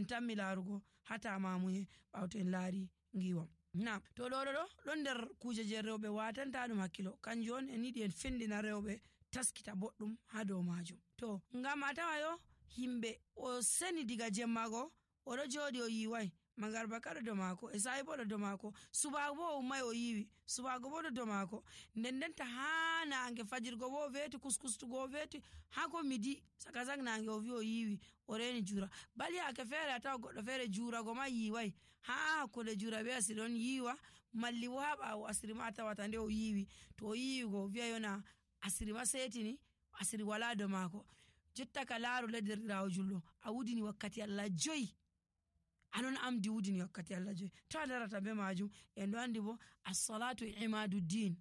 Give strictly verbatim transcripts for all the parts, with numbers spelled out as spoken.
en tammi laarugo hata mamuye ɓawto en laari ngiwam. Naam, to ɗo ɗo ɗon nder kuje je rewɓe watanta ɗum hakkilo, kanjum on en yiɗi en findina rewɓe taskita boɗɗum ha dow majum. To ngam a tawa yo himɓe o seni diga jemmago oɗo jooɗi o yiwai, magarba ka ɗo dow mako, e sa'i bo ɗo dow mako, subago bo o ummai o yiwi, subago bo ɗo dow mako, nden denta ha nange fajirgo bo o veti, kuskustugo o veti, ha ko midi saka sak nange o vi o yiwi o reni jura. Bali yake fere a tawa goɗɗo fere jurago ma yiwai, ha hakkude jura be asiri on yiwa, malli bo ha ɓawo asiri ma a tawata nde o yiwi, to o yiwigo o vi'a yona asiri ma setini, asiri wala dow mako. Jotta ka laaru ledderɗirawo julɗo, a wudini wakkati Allah joyi, anon amdi wudini wakkati Allah joyi, to a darata be majum. En ɗo andi bo as-salatu imaduddin,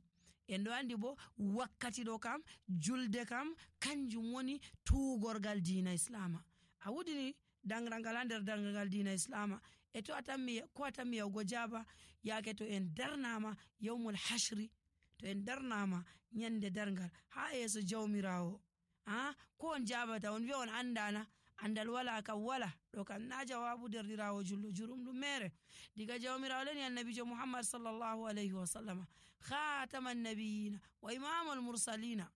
en ɗo andi bo wakkati ɗo kam julde kam kanjum woni tugorgal diina islama. A wudini dangrangal ha nder dangrangal diina islama, e to a tammi ko a tammi yawgo jaba yake to en darnama yawmul hashri, to en darnama nyande darngal ha yeso jawmirawo, ah ko on jabata on wi'a on andana, andal wala kam wala, ɗo kam na jawabu derɗirawo julɗo jurum ɗum mere diga jawmirawo leni annabijo Muhammad sallallahu alaihi wa sallama, khataman nabiyina wa imamul mursalina.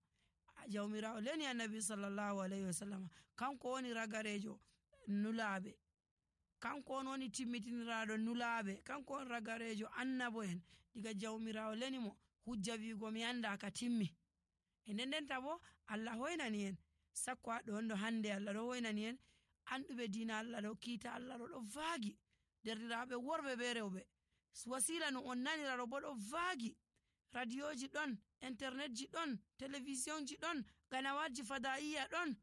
Jawmirawo leni annabi sallallahu alaihi wa sallama kanko woni ragarejo nulaɓe, kanko on woni timmitiniraɗo nulaɓe, kanko on ragarejo annabo en. Diga jawmirawo leni mo hujja wigo mi anda ka timmi. E nden denta bo Allah hoynani en sakko ha ɗon ɗo hande, Allah ɗo hoynani en anduɓe diina Allah ɗo, kiita Allah ɗo ɗo vaagi, derɗiraɓe worɓe be rewɓe, wasila no on nanira ɗo bo ɗo vaagi, radioji ɗon, internetji ɗon, télévisionji ɗon, ganawatji fada'iya ɗon,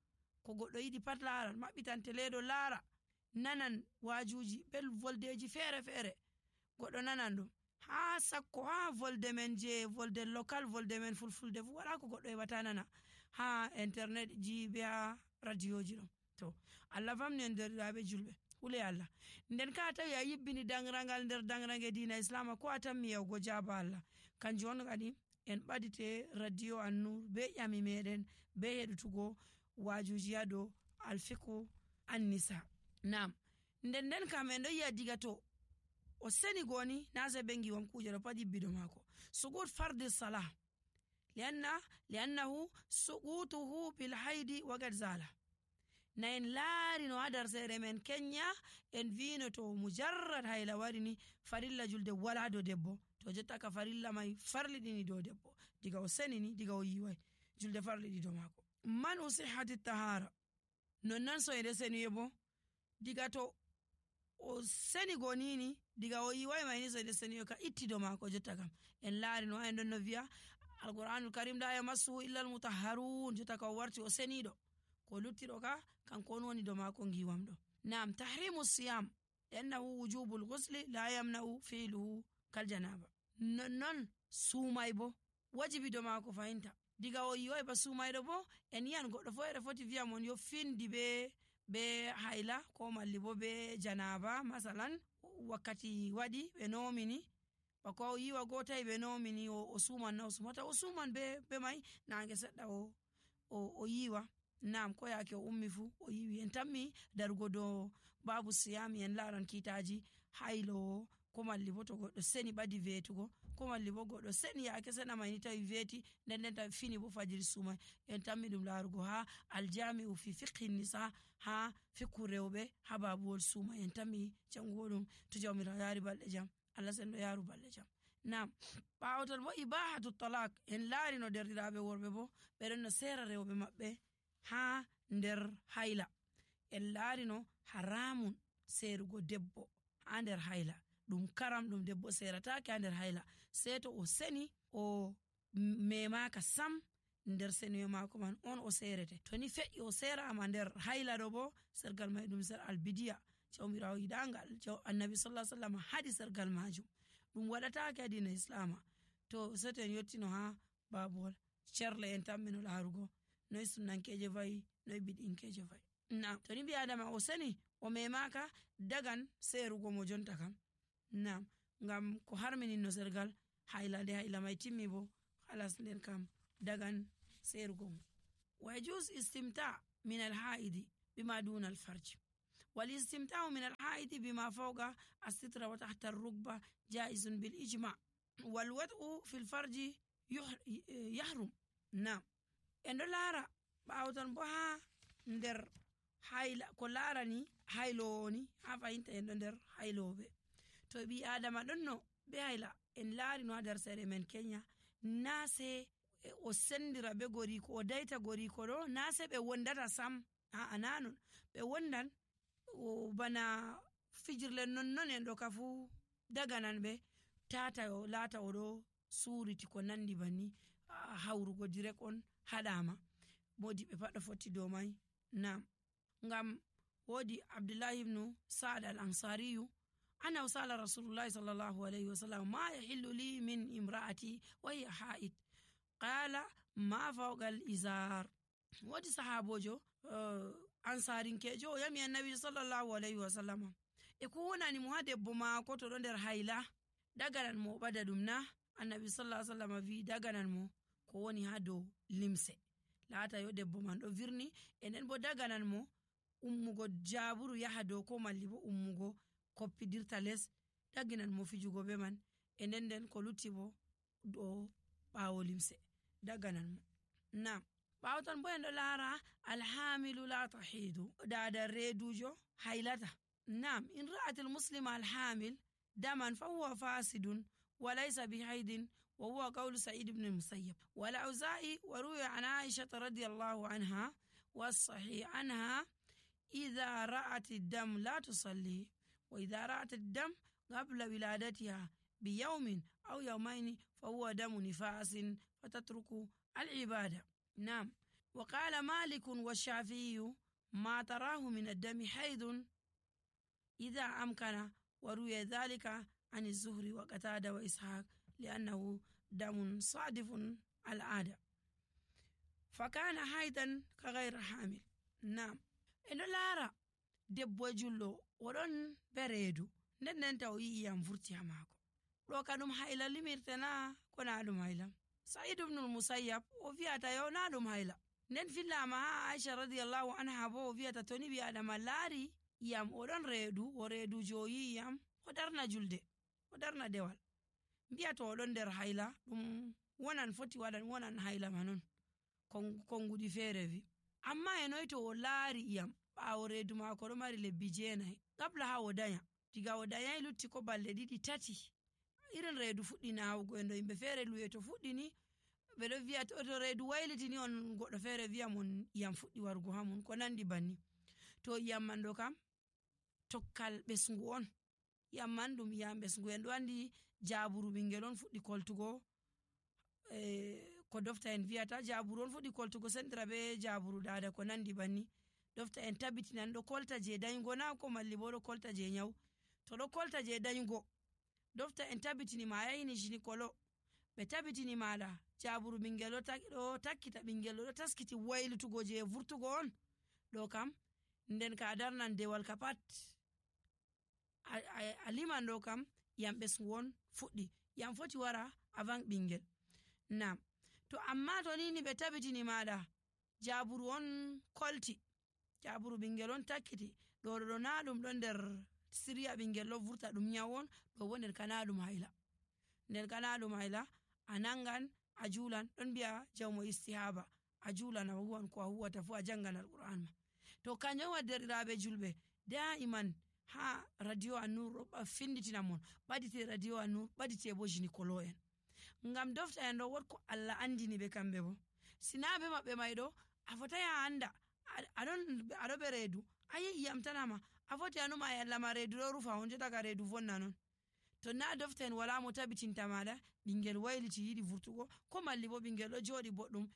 ko goɗɗo yiɗi pat laran, maɓɓitan teleɗo laara, nanan wajuji bel voldeji fere fere, goɗɗo nanan ɗum ha sakko ha volde men je volde local, volde men fulfulde fu wala ko goɗɗo heɓata nana ha internet ji be ha radioji ɗon. To Allah famni en derɗiraɓe julɓe, hule Allah. Nden ka tawi a yibbini dangrangal nder dangrange diina islama, ko a tammi yawgo jaba Allah, kanjum on kadi en ɓadite radio An-Nur be ƴami meɗen be heɗutugo wajuji ha dow alfiqhu an-nisa. Naam, nden nden kam en ɗo yi'a diga to o seni goni na sai be ngiwam kuje ɗo pat yibbido mako. Sugud fardi salah lianna liannahu sugutuhu bil haidi waqad zala. Na en laari no hadar sere men Kenya en vino to mujarrad hayla warini farilla julde wala do debbo, to jotta ka farilla mai farliɗini do debbo, diga o senini diga o yiwai julde farliɗi do mako. Man usihati tahara, nonnan so ede seni bo diga to o seni gonini diga o yiwai mai ni so ede seni ka itti do mako. Jotta kam en laari no en don no viya alquranul karim la yamassuhu illa almutahharun, jotta ka o warti o senido, ko luttiɗo ka kanko on woni do mako ngiwam ɗo. Naam, tahrimu siyam liannahu wujubul ghusli la yamna'u fi'luhu kal janaba. Non sumai bo wajibi do mako fahinta, diga o yiwai ba sumaiɗo bo en yi'an goɗɗo fo ede foti viya mon yo findi be be hayla ko malli bo be janaba, masalan wakkati waɗi ɓe nomini bako o yiwa gotai ɓe nomini o, o suman na o sumata o suman be, be mai nange seɗɗa o, o, o yiwa. Naam, ko yake o ummi fu o yiwi. En tammi darugo do babu siyami en laran kitaji haylo ko malli bo to goɗɗo seni ɓadi vetugo, ko malli bo goɗɗo seni yake sena mai ni tawi veti nden nden tawi fini bo fajiri sumai, en tammi ɗum larugo ha aljami'u fi fiqhi nisa, ha fiqhu rewɓe ha babuwol sumai, en tammi jangugo ɗum to jawmirawo yari balɗe jam, Allah sen ɗo yaru balɗe jam. Naam, ɓawoton bo ibahatu talak, en laari no derɗiraɓe worɓe bo ɓeɗon no sera rewɓe maɓɓe ha nder hayla, en laari no haramun serugo debbo ha nder hayla, ɗum karam ɗum debbo seratake ha nder hayla, sei to o seni o memaka sam nder seniyo mako man on o serete. To ni fe'i o serama nder hayla ɗo bo sergal mai ɗum ser albidiya, jawmirawo yiɗangal annabi sallallahu alaihi wasallam haɗi sergal majum, ɗum waɗatake ha dina islama. To seto en yottino ha babuwol cerle en tammino larugo noy sunnankeje vayi, noy bid'inkeje vayi. Naam, to ni bi adama o seni o memaka dagan serugo mo jonta kam. Naam, ngam ko harminin no sergal hayla nde hayla mai timmi bo halas nden kam dagan serugo mo. Wa yajuz istimta min al haidi bima duna al farj, wal istimta'u min al-haidi bima fawqa as-sitra wa tahta ar-rukba jaizun bil ijma' wal wad'u fil farji yahrum. Naam, en ɗo laara ɓaawtan bo ha nder hayla ko laarani haylowo ni ha fayinta en ɗo nder hayloɓe. To ɓi adama ɗon no be hayla en laari no ha nder sere men Kenya, na se o sendira be goriko o daita goriko ɗo, na se ɓe wondata sam, a'a nanon ɓe wondan bana fijirle nonnon en ɗo ka fu daganan ɓe tata o laata o ɗo suriti ko nandi banni hawrugo direk on haɗama, modi ɓe pat ɗo fotti dow mai. Naam, ngam wodi Abdullahi ibnu Sa'ad al-Ansariyu ana usala Rasulullahi sallallahu alaihi wasallam ma yahillu li min imra'ati wa hiya ha'id qala ma fawqa al-izar. Wodi sahabojo uh, ansarinkejo o yami annabi sallallahu alaihi wasallam e ko wonani mo ha debbo maako to ɗo nder hayla daganan mo ɓada ɗum na? Annabi sallallahu alaihi wasallam vi daganan mo ko woni ha dow limse, laata yo debbo man ɗo virni, e nden bo daganan mo ummugo jaburu yaha dow ko malli bo ummugo koppidirta les, daginan mo fijugo be man, e nden nden ko lutti bo dow ɓaawo limse daganan mo. Naam, ɓaawtan bo en ɗo laara alhamilu la tahidu, dada reedujo haylata. Naam, in ra'at almuslima alhamil daman fa huwa fasidun wa laysa bihaidin wa huwa qawlu Sa'id ibn al-Musayyab wal Auza'i wa ruwiya an Aisha radiyallahu anha was-sahih anha idha ra'at ad-dam la tusalli wa idha ra'at ad-dam qabla wiladatiha bi yawmin aw yawmayn fa huwa damu nifasin fatatruku al-ibada. Naam, wa qala Malik wa Shafi'i ma tarahu min ad-dami haidun idha amkana wa ruwiya dhalika عن الزهري وقتادة وإسحاق لأنه دم صادف العادة فكان حيدا كغير حامل. نعم، إنه لارا debbo jullo oɗon bereedu nden nden taw yi iyam furti ha maako ɗo ka ɗum hayla limirte na ko na ɗum hayla? Sa'id ibn al-Musayyab o wi'ata yo na ɗum hayla, nden fillama ha Aisha radiyallahu anha bo o wi'ata to ni ɓi adama laari iyam oɗon reedu o reedujo o yi iyam o darna julde o darna dewal, mbiya to oɗon nder hayla ɗum wonan foti waɗan wonan hayla manon konguɗi feere wi. Amma e noy to o laari iyam ɓaawo reedu maako ɗo mari lebbi jeenayi qabla ha o danya, diga o danyayi lutti ko balɗe ɗiɗi tati irin reedu fuɗɗi nawugo en ɗo yimɓe feere luwe to fuɗɗini ɓe ɗo wiya to reedu waylitini on goɗɗo feere wiya mon iyam fuɗɗi wargo ha mun ko nandi banni. To iyam man ɗo kam tokkal ɓesngu on, iyam man ɗum iyam ɓesngu, en ɗo andi jaburu ɓingel on fuɗɗi koltugo e, ko dofta en wiyata jaburu on fuɗɗi koltugo sendira be jaburu dada ko nandi banni. Dofta en tabbitinan ɗo kolta je dayugo na ko malli bo ɗo kolta je nyawu, to ɗo kolta je dayugo dofta en tabbitini ma yahini gynécolo ɓe tabbitini maɗa jaburu ɓingel ɗo takkita ɓingel ɗo taskiti waylutugo je vurtugo on ɗo kam nden ka darnan dewal ka pat a, a, a liman ɗo kam yam ɓesngu on fuɗɗi, yam foti wara avant ɓingel. Nam, to amma to nini ɓe tabbitini maɗa jaburu on kolti, jaburu ɓingel on takkiti ɗo ɗo na ɗum ɗon nder siriya ɓingel ɗo vurta ɗum nyawu on, ɗo bo nder kana ɗum hayla, nder kana ɗum hayla a nangan a julan, ɗon mbiya jawmo istihaba a julan a huwan ko a huwata fu a jangan alquran ma. To kanjum waddiraɓe julɓe daiman ha radio An-Nur ɗo finditina mon ɓadite radio An-Nur ɓadite bo gynécolo en, ngam dofta en ɗo wot ko Allah andini ɓe kamɓe bo sinaɓe maɓɓe may ɗo a fotai a anda aɗon aɗo ɓe reedu ayi iyam tanama a foti anuma e Allah ma reedu ɗo rufa on jotaka reedu vonna non. To na dofta en wala mo tabbitinta maɗa ɓingel wayliti yiɗi vurtugo ko malli bo ɓingel ɗo joɗi boɗɗum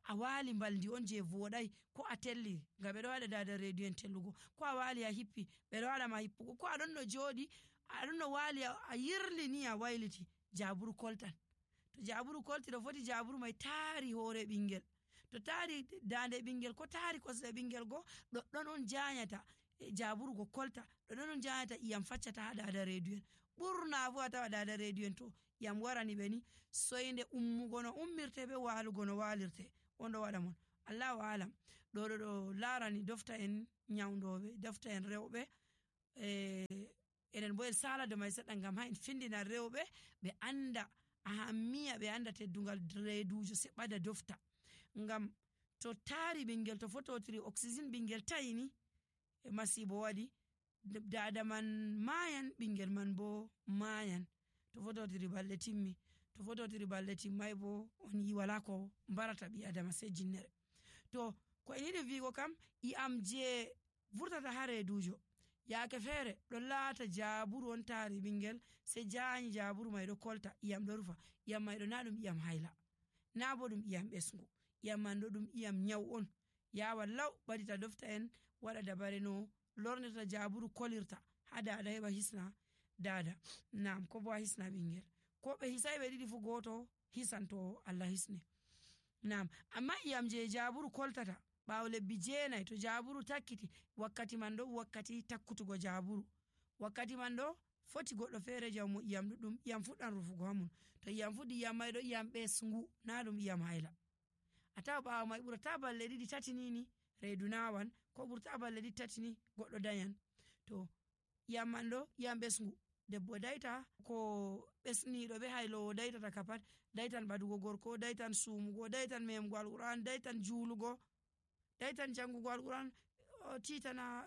a wali mbaldi on je voɗai ko a telli nga ɓe ɗo waɗa dada reedu en tellugo, ko a wali a hippi ɓe ɗo waɗa ma hippugo, ko aɗon no joɗi aɗon no wali a yirli ni a wayliti jaburu koltan. To jaburu kolti ɗo foti jaburu mai taari hoore ɓingel, to taari dande ɓingel ko taari kosɗe ɓingel go ɗoɗɗon on janyata jaburu go kolta, ɗoɗɗon on janyata iyam faccata ha dada reedu en. ɓurna fu a tawa dada reedu en to iyam warani ɓe ni soyde ummugo no ummirte be walugo no walirte on ɗo waɗa mon, allahu alam ɗo ɗo ɗo larani dofta en nyawdoɓe dofta en rewɓe e enen bo en sala do mai seɗɗa ngam ha en findina rewɓe ɓe anda ahammiya ɓe anda teddungal reedujo seɓɓada dofta ngam to taari ɓingel to fototiri oxygene ɓingel tayini e masibo waɗi dada man mayan ɓingel man bo mayan to fototiri balɗe timmi to fototiri balɗe timmai bo on yi wala ko mbarata ɓi adama sai jinnere. To ko en yiɗi wigo kam i'am je vurtata ha reedujo yaake feere ɗon laata jaburu on taari ɓingel sai jaani jaburu mai ɗo kolta iyam ɗo rufa iyam mai ɗo na ɗum iyam hayla na bo ɗum iyam ɓesgu iyam man ɗo ɗum iyam nyawu on yawa law ɓadita dofta en waɗa dabare no lornirta jaburu kolirta ha dada heɓa hisna dada nam ko bo a hisna ɓingel ko ɓe hisai ɓe ɗiɗi fu goto hisan to Allah hisne nam amma iyam je jaburu koltata ɓawo lebbi jeenai to jaburu takkiti wakkati man ɗo wakkati takkutugo jaburu wakkati man ɗo foti goɗɗo feere jawmo iyam ɗuɗɗum iyam fuɗɗan rufugo hamum to iyam fuɗɗi iyam mai ɗo iyam ɓesngu na ɗum iyam hayla a tawa ɓawo mai ɓurata balɗe ɗiɗi tati nini reedu nawan ko ɓurta balɗe ɗiɗi tati ni goɗɗo dayan to iyam man ɗo iyam ɓesngu debbo dayta ko ɓesniɗo ɓe haylowo daytata ka pat daytan ɓadugo gorko daytan sumugo daytan memugo alquran daytan julugo daytan jangugo alquran titana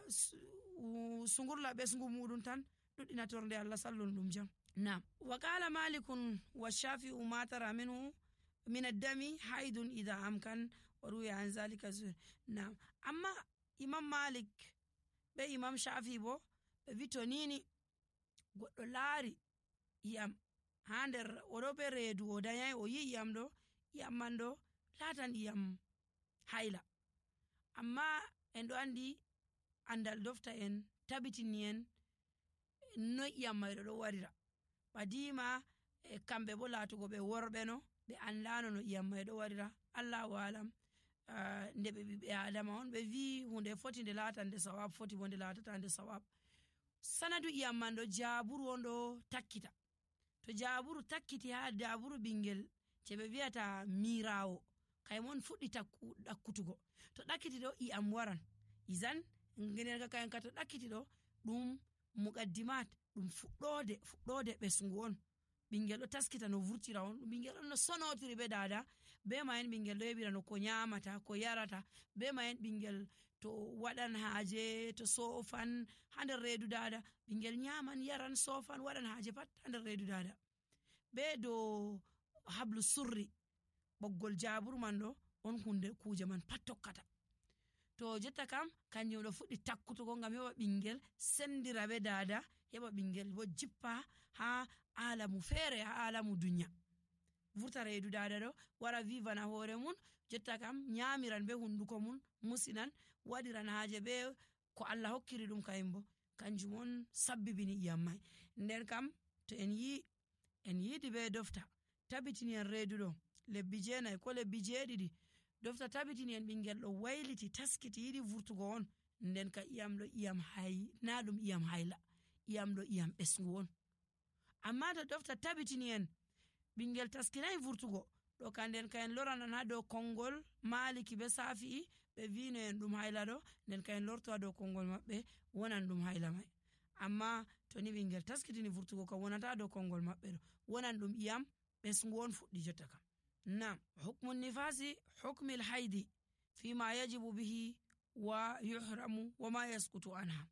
sungurla ɓesngu muɗum tan ɗuɗɗina torde Allah sallun ɗum jam. Nam wa qala malikun wa shafi'u ma tara minhu min ad-dami haidun idha amkan wa ruya an zalika zuhr. Nam amma imam malik be imam shafi bo ɓe wi to nini goɗɗo laari iyam ha nder oɗo be reedu o dayai o yi iyam ɗo iyam man ɗo latan iyam hayla amma en ɗo andi andal dofta en tabitini en noy iyam mayɗo ɗo warira ɓadima e kamɓe bo laatugo ɓe worɓe no ɓe andano no iyam may ɗo warira allahu alam uh, nde ɓe ɓiɓɓe adama on ɓe wi hunde foti nde laata nde sawab foti bo nde laatata nde sawab sanadu iyam man ɗo jaburu on ɗo takkita to jaburu takkiti ha jaburu ɓingel je ɓe wiyata mirawo kaymon fuɗɗi ɗakkutugo to ɗakkiti ɗo iyam waran izan nden kayen ka to ɗakkiti ɗo ɗum muqaddimat ɗum fuɗɗode fuɗɗode ɓesngu on ɓingel ɗo taskita no vurtira on ɓingel ɗon no sonotiri be dada be mayen ɓingel ɗo heɓira no ko nyamata ko yarata be mayen ɓingel to waɗan haaje to sofan ha nder reedu dada ɓingel nyaman yaran sofan waɗan haaje pat ha nder reedu dada be do hablu surri ɓoggol jaburu man ɗo on hunde kuje man pat tokkata to jotta kam kanjum ɗo fuɗɗi takkutugo ngam heɓa ɓingel sendira be dada heɓa ɓingel bo jippa ha alamu feere ha alamu dunya vurta reedu dada ɗo wara vivana hoore mun jotta kam nyamiran be hunduko mun musinan waɗiran haaje be ko Allah hokkiri ɗum kayum bo kanjum on sabbibini iyam mai nden kam to en yi en yiidi be dofta tabitini en reedu ɗo lebbi jeenayi ko lebbi jeeɗiɗi dofta tabitini en ɓingel ɗo wayliti taskiti yiɗi vurtugo on nden ka iyam ɗo iyam hay na ɗum iyam hayla iyam ɗo iyam ɓesngu on amma to dofta tabitini en ɓingel taskinayi vurtugo ɗo ka nden ka en loranan ha dow konngol maliki be safi'i ɓe vino en ɗum hayla ɗo nden ka en lorto ha dow konngol maɓɓe wonan ɗum hayla mai amma to ni ɓingel taskitini vurtugo kam wonata dow konngol maɓɓe ɗo wonan ɗum iyam ɓesngu on fuɗɗi jotta kam. Nam hukmu nifasi hukmi lhaidi fima yajibu bihi wa yuhramu wa ma yaskutu anha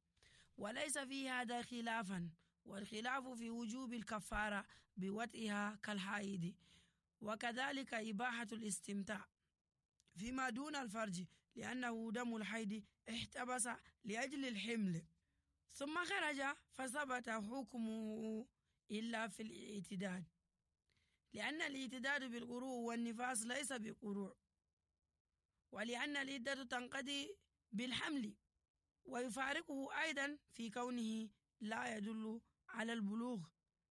walaysa fi hada khilafan والخلاف في وجوب الكفارة بوطئها كالحائض وكذلك إباحة الاستمتاع فيما دون الفرج لأنه دم الحيض احتبس لأجل الحمل ثم خرج فثبت حكمه إلا في الاعتداد لأن الاعتداد بالقروء والنفاس ليس بقروء ولأن العدة تنقضي بالحمل ويفارقه أيضا في كونه لا يدل على البلوغ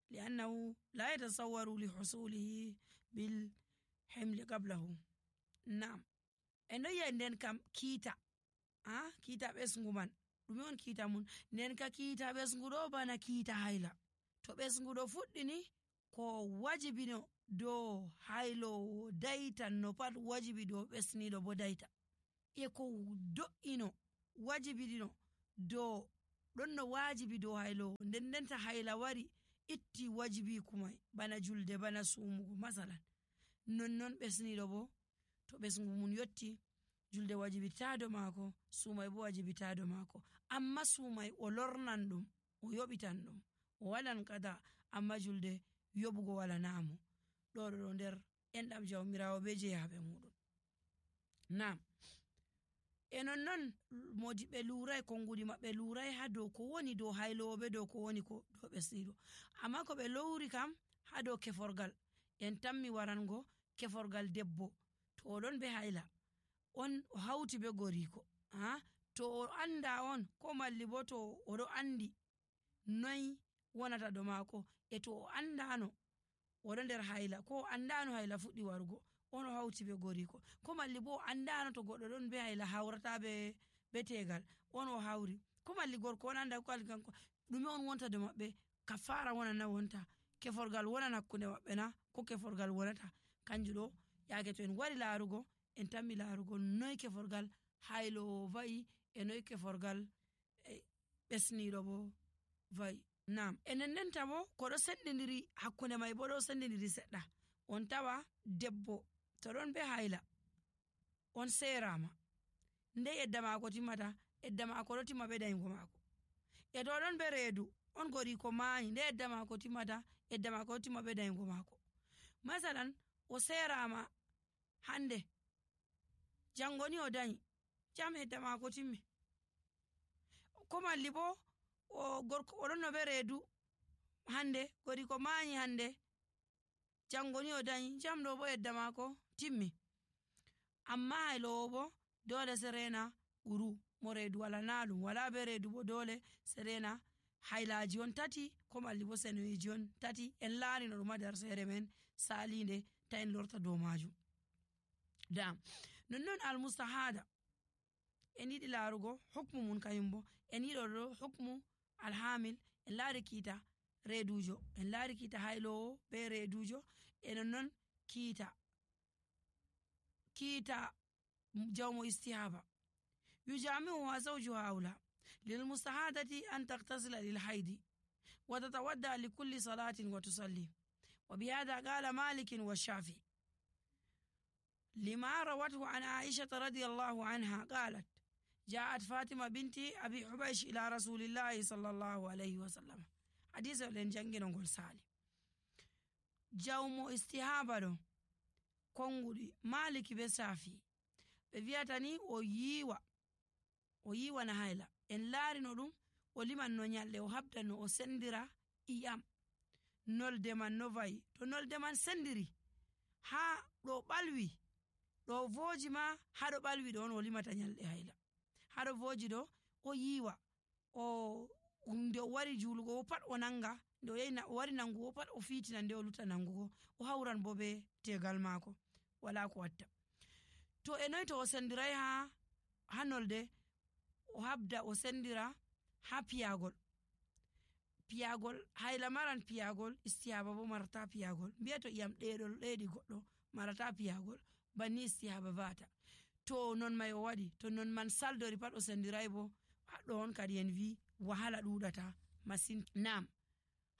لأنه لا يتصور لحصوله بالحمل قبله. نعم eno yenden kam kiita ah kiita ɓesngu man ɗume on kiita mun nden ka kiita ɓesngu ɗo bana kiita hayla to ɓesngu ɗo fuɗɗini ko wajibino dow haylowo daytan no pat wajibi dow ɓesniɗo bo dayta e ko do'ino wajibidino do ɗon no wajibi dow haylowo nden ndenta hayla wari itti wajibi kumai bana julde bana sumugo masalan nonnon ɓesniɗo bo to ɓesngu mun yotti julde wajibitado maako sumai bo wajibitado maako amma sumai o lornan ɗum o yoɓitan ɗum o waɗan kada amma julde yoɓugo wala namo ɗo ɗo nder enɗam jawmirawo be jeyaɓe muɗum. Nam e nonnon modiɓe lurai konguɗi maɓɓe lurai ha dow ko woni dow haylowo be dow ko woni ko dow ɓesniɗo amma ko ɓe lowri kam ha dow keforgal en tammi warango keforgal debbo to oɗon be hayla on o hauti be goriko ha to o anda on ko malli bo to oɗo andi noyi wonata do maako e to o andano oɗo nder hayla ko o andano hayla fuɗɗi warugo on o hauti be goriko ko malli bo o andano to goɗɗo ɗon be hayla hawrata be be tegal on o hawri ko malli gorko on anda ko alli kanko ɗume on wonta do maɓɓe kafara wonan na wonta keforgal wonan hakkunde maɓɓe na ko keforgal wonata kanjum ɗo yaake to en wari laarugo en tammi laarugo noy keforgal haylowo va'i e noy keforgal ɓesniɗo bo va'i. Nam enen ndenta bo koɗo sendidiri hakkunde mai bo ɗo sendidiri seɗɗa on tawa debbo to ɗon be hayla on serama nde edda maako timmata edda maako ɗo timma be dayingo maako e to ɗon be reedu on goriko maayi nde edda maako timmata edda maako ɗo timma be dayingo maako masalan o serama hande jangoni o dayi jam edda maako timmi ko malli bo o gorko oɗon no be reedu hande goriko maayi hande jangoni o dayi jam ɗo bo edda maako timmi amma haylowo bo dole serena ɓuru mo reedu wala naɗum wala be reedu bo dole serena haylaji on tati ko malli bo senoyiji on tati en laarino ɗum ha nder sere men salinde ta en lorta dow majum. Dam nonnon almustahada en yiɗi laarugo hukmu mun kayum bo en yiɗo ɗo hukmu alhamil en laari kiita reedujo en laari kiita haylowo be reedujo e nonnon kiita kiita jawmo istihaba yujami'uha zawjuha awla lilmustahadati an taktasila lilhaidi wa tatawadda likulli salatin wa tusalli wa bihadha qala malik wa shafi lima rawathu an aisha radiyallahu anha qalat جاءت فاطمة بنت أبي حبيش إلى رسول الله صلى الله عليه وسلم حديث ولن جنجي نقول سالي جاومو استهابة كونغولي مالك بسافي بفياتني وييوا وييوا نهايلا إن لاري نولم ولمن نونيالي وحبدا نو سندرا إيام نول دمان نوفاي تو نول دمان سندري ها رو بالوي رو فوجي ما ها رو بالوي دون ولما تنيالي هايلا haɗo voji ɗo o yiwa o nde o wari julugo o pat o nanga nde o yahi o wari nangugo pat o fitina nde o luta nangugo o hawran bo be tegal maako wala ko watta to e noy to o sendirai ha ha nolde o habda o sendira ha piyagol piyagol hayla maran piyagol istihaba bo marata piyagol mbiya to iyam ɗeɗol ɗeɗi goɗɗo marata piyagol banni istihaba vata to non mai o waɗi to non man saldori pat o sendirai bo haɗo on kadi en wi wahala ɗuɗata masin. Nam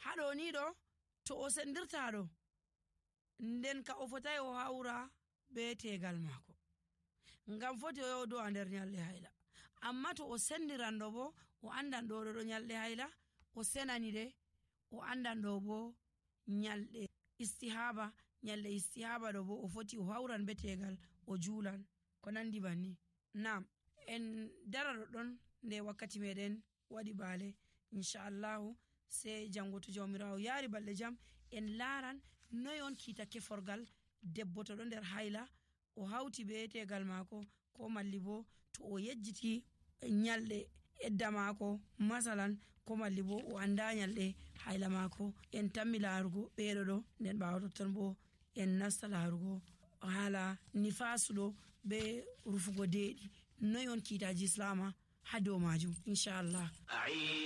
haɗo ni ɗo to o sendirta ɗo nden ka o fotai o hawra be tegal maako ngam foti o yodo a nder nyalɗe hayla amma to o sendiran ɗo bo o andan ɗo ɗo nyalɗe hayla o senani de o andan ɗo bo nyalɗe istihaba nyalɗe istihaba ɗo bo o foti o hawran be tegal o juulan ko nandi banni. Nam en dara ɗoɗɗon nde wakkati meɗen waɗi baale inchallahu sai jango to jawmirawo yaari balɗe jam en laaran noy on kiita keforgal debbo to ɗo nder hayla o hawti be tegal maako ko malli bo to o yejjiti nyalɗe edda maako masalan ko malli bo o anda nyalɗe hayla maako en tammi laarugo ɓeɗo ɗo nden ɓawo totton bo en nasta laarugo haala nifasu ɗo be rufugo deeɗi noy on kiitaji islama ha dow majum inchallah.